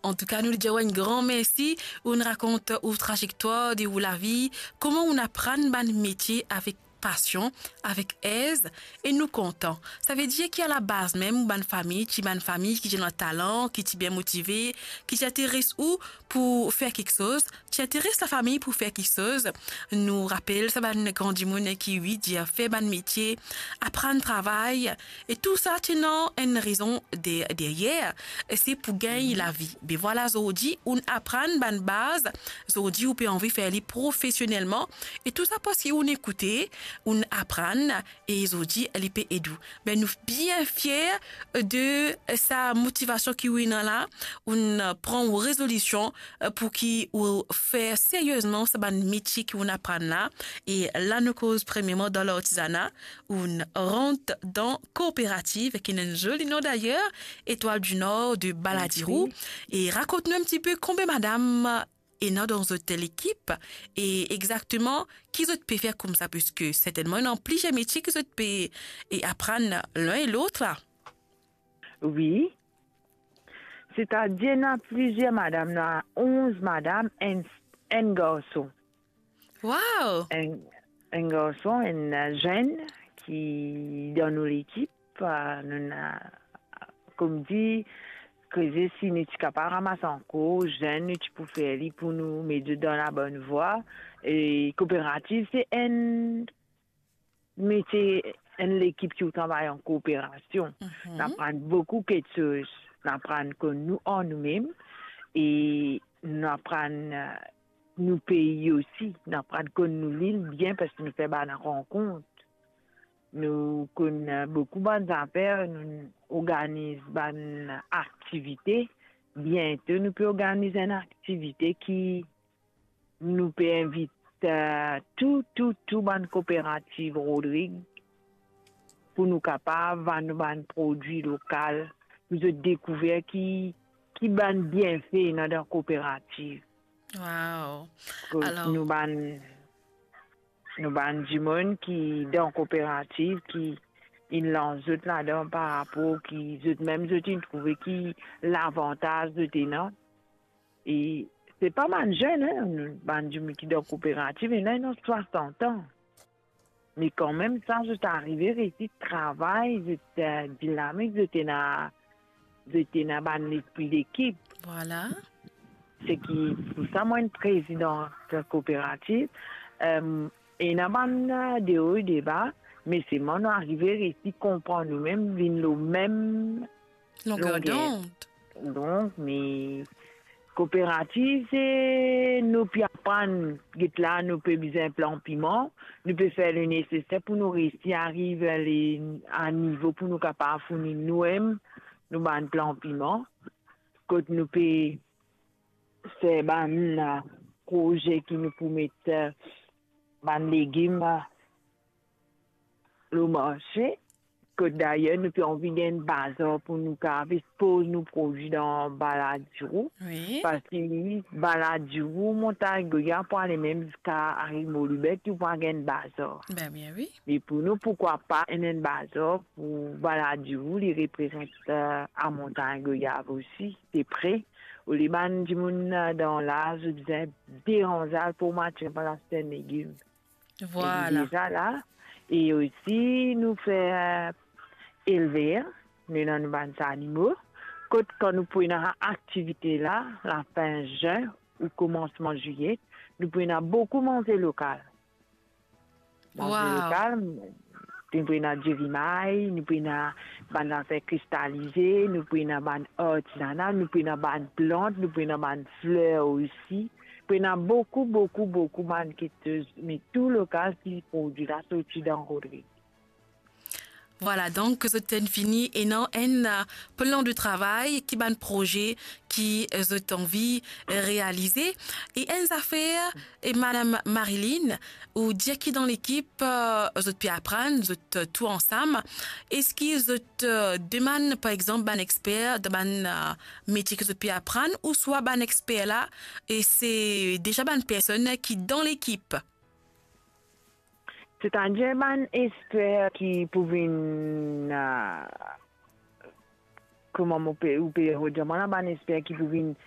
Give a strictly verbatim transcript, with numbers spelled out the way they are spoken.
Antouka, nou dir ou enn gran mersi, ou'nn rakont ou trazektwar de ou lavi, kouma ou'nn aprann bann metie avek pasion, avek ez, e nou kontan. Savedir ki alabaz mem, ou bann fami, ti bann fami ki ti ena talan, ki ti bien motive, ki ti interes ou pou fer kiksoz, ti interes lafami pou fer kiksoz. Nou rapel sa bann gran dimoun ki, wi, dir fer bann metie, aprann travay, e tou sa ti ena enn rezon de-, deryer, e se pou gagn lavi. Be vwala, zordi, ou'nn aprann bann baz, zordi, ou pe anvi fer li profesionelman, e tou sa parski ou'nn ekoute, ou'nn aprann, e zordi, li pe ed ou. Be nou bien fier de sa motivasion ki ou ena la, ou'nn pran ou rezolision, eh, pou ki ou fer seriezman sa bann metie ki ou'nn aprann la. E la nou koz premierman dan lartizana, ou'nn rant dan kooperativ, ki ena enn zoli nom dayer, Étoile du Nord de Baladirou. Mersi. E rakont nou enn tipe konbien madam ena dan zot lekip, e exakteman ki zot pe fer koumsa, piski sertennman ena plizier metie ki zot pe, e, aprann linn e lot la. Wi. Setadir, ena plizier madam, ena onz madam, enn, enn garson. Wow! Enn, enn garson, enn, eh, zenn ki dan nou lekip, eh, nou ena, kouma dir, kreze si nou ti kapav ramas ankor zenn, nou ti pou fer li pou nou met zot dan labonn vwa. E kooperativ, se enn metie, enn lekip ki ou travay an kooperasion. Mhm. Nou aprann boukou kiksoz. Nou aprann konn nou an noumem e nou aprann, eh, nou pei osi. Nou aprann konn nou lil bien parski nou fer bann rankont. Nou konn, eh, boukou bann zafer, nou organiz bann aktivite. Biento nou pe organiz enn aktivite ki nou pe invit, eh, tou, tou, tou bann kooperativ Rodrig pou nou kapav vann nou bann prodwi lokal, pou zot dekouver ki, ki bann bienfe ena dan kooperativ. Wow. Kot alor nou bann, nou bann dimoun ki dan kooperativ, ki inn lans zot ladan par rapor ki zot mem zot inn trouve ki lavantaz zot ena. E se pa bann zenn, hein, bann dimoun ki dan kooperativ, ena, ena swasant an. Me kanmem sa, zot arive resi travay, zot, eh, dinamik, zot ena, zot ena bann lespri lekip. Vwala. Se ki pou sa, mwa, enn prezidan kooperativ, eh, ena bann, eh, deo e deba, me selman nou arive resi konpran noumem, vinn lor mem longer dond. Donk, me kooperativ, se nou pe aprann, get la, nou pe bizin plant piman, nou pe fer le neseser pou nou resi ariv a le, a nivo pou nou kapav fourni noumem nou bann plant piman, kot nou pe fer bann, eh, proze ki nou pou met, eh, bann legim, eh, lor marse. Kot dayer nou pe anvi gagn bazar pou nou kapav ekspoz nou prodwi dan Baladirou. Wi. Parski Baladirou, Montagn Goya pou ale mem ziska Arimor Loubet, ou pa gagn bazar. Be bien wi. Me pou nou, poukwa pa ena enn bazar pou Baladirou, li reprezant, eh, a Montagn Goya osi, de pre. Olie bann dimoun, eh, dan la, zot bizin deranz al pou marse pou al aste enn legim. Vwala. E deza la, e osi nou fer elver, nou ena nou bann zanimo, kot kan nou pou ena aktivite la, lafin zin ou koumansman ziye, nou pou ena boukou manze lokal. Manze lokal, nou pou ena dirimay, nou pou ena bann zafer kristalize, nou pou ena bann artizana, nou pou ena bann plant, nou pou ena bann fler osi. Pou ena boukou, boukou, boukou bann kiksoz, me tou lokal ki prodwi la sorti dan Rodrig. Vwala, donk zot inn fini ena enn, eh, plan de travay, ki bann proze ki, eh, zot anvi, eh, realize. E enn zafer, e Madam Marilyn, ou dir ki dan lekip, eh, zot pe aprann, zot, eh, tou ansam. Eski zot, eh, demann, par exanp, bann exper dan bann, eh, metie ki zot pe aprann, ouswa bann exper la, e se deza bann personn ki dan lekip? Setadir bann exper ki pou vinn, eh, kouma mo pe, ou pe redir mwa la, bann exper ki pou vinn